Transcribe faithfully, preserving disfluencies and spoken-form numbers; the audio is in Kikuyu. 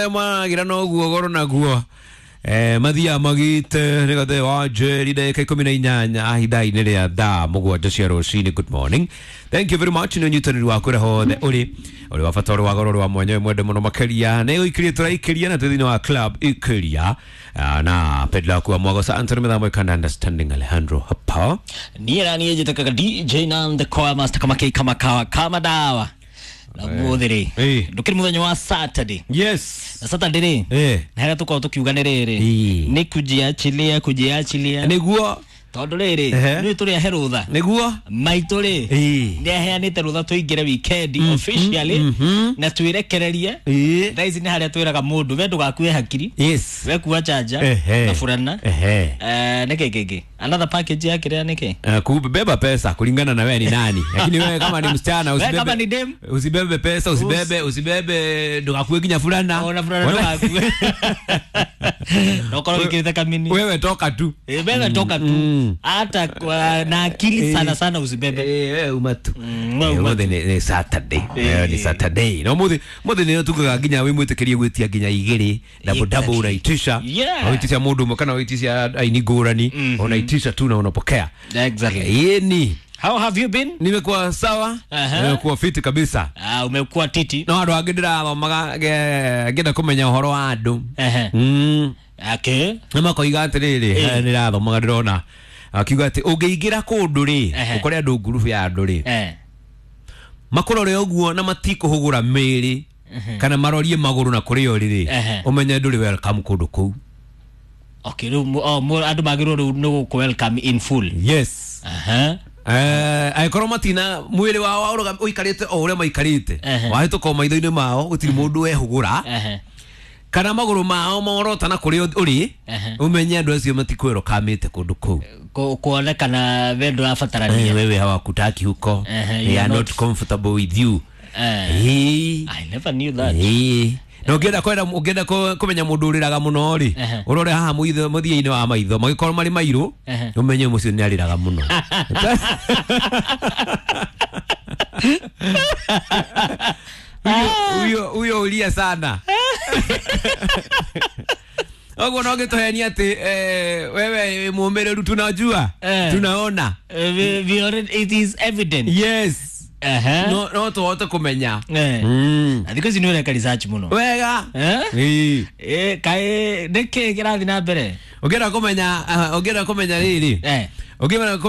Maria magira no guo goro naguo. Eh, mathia magite nä wa njeri ndagä ikå mi na inyanya ihinda-inä rä a thaa må gwanja cia rũcinĩ. Good morning, thank you very much nä å nyitanä ri waku å rä hothe å rä å rä wa bata å rä wa goro å rä wa mwanya mwende må no makäria nä gå ikäria tå raikäria na twä thä inä wa club ikäria na pedla kuwa mwagosa Anthony Mithamo ikanda understanding Alejandro hapa niä ra niä njä takaga D J na the choir master kama kei kama kawa kama dawa na muthä rä ndå kä rä må thenya wa Saturday. Yes, na Saturday rä na harĩa tũkoragwo tũkiuga nĩ rĩrĩ nĩ kujiachilia kujiachilia nĩguo tondũ rĩrĩ nĩ tũrĩ ahe rũtha nĩguo maitũ rĩ nĩ aheanĩte rũtha tũingĩre weekend officially na twĩrekererie. Thaa ici nĩ harĩa twĩraga mũndũ we ndũgakue hakiri, yes, we kua chanja na furana nĩkĩ kĩngĩ another package ya kĩrĩa nĩkĩ kubeba pesa kulingana na wewe ni nani, lakini wewe kama ni msichana usibebe, kama ni dem usibebe pesa, usibebe usibebe ndugakue nginya furana ona furana ndugakue no korwo wikirite kamini wewe toka tu, wewe toka tu hata na akili sana sana usibebe eh wewe umatu muthi ni Saturday, ni Saturday no muthi muthi ni tukaga nginya wi mwitikirie gwitia nginya igiri double double unaitisha unaitisha mundu umwe kana unaitisha aini ngurani unaitisha tu na unapokea. Exactly. Yeni, how have you been? Nimekuwa sawa. Nimekuwa fiti kabisa. Ah, umekuwa titi. No andu angi ndirathomaga ngenda kumenya uhoro wa andu. Mm. Okay. Na makoiga atiriri, ndirathomaga ndirona akiuga ati ungiingira kundu ri ukore andu ngurubu ya andu ri makurore uguo na matikuhugura miri kana marorie maguru na kurio riri umenye nduri welcome kundu kuu. Okay, riu oh andu magirwo riu ni ku welcome in full. Yes. Aha. Eh, aikorwo matina mwiri wao uikarite o uria maikarite wahituka o maitho-inĩ mao gutiri mundu wehugura kana maguru mao morota na kuri uri umenye andu acio matikwĩrokamĩte kundu kuu kuonekana we ndũrabatarania, wewe hawakutaki huko, they are not comfortable with you. Eh, I never knew that. Eh, na ũngĩenda kwenda ũngĩenda kũmenya mũndũ ũrĩraga mũno rĩ ũrore haha mũthia-inĩ wa maitho magĩkorwo marĩ mairũ ũmenye mũcio nĩ arĩraga mũno. Huyo huyo ulia sana. Ogo no gĩtũhenia atĩ wewe mũmĩrĩru tunajua tunaona we already it is evident. Yes. Aha. No no tuhote kumenya. Eh. Mm. Na thikũ ici nĩ ũreka research mũno. Wega. Eh? Ĩĩ. Eh, kaĩ nĩkĩ kĩrathiĩ na mbere? Ũngĩenda kũmenya ũngĩenda kũmenya rĩrĩ. Eh. Ũngĩenda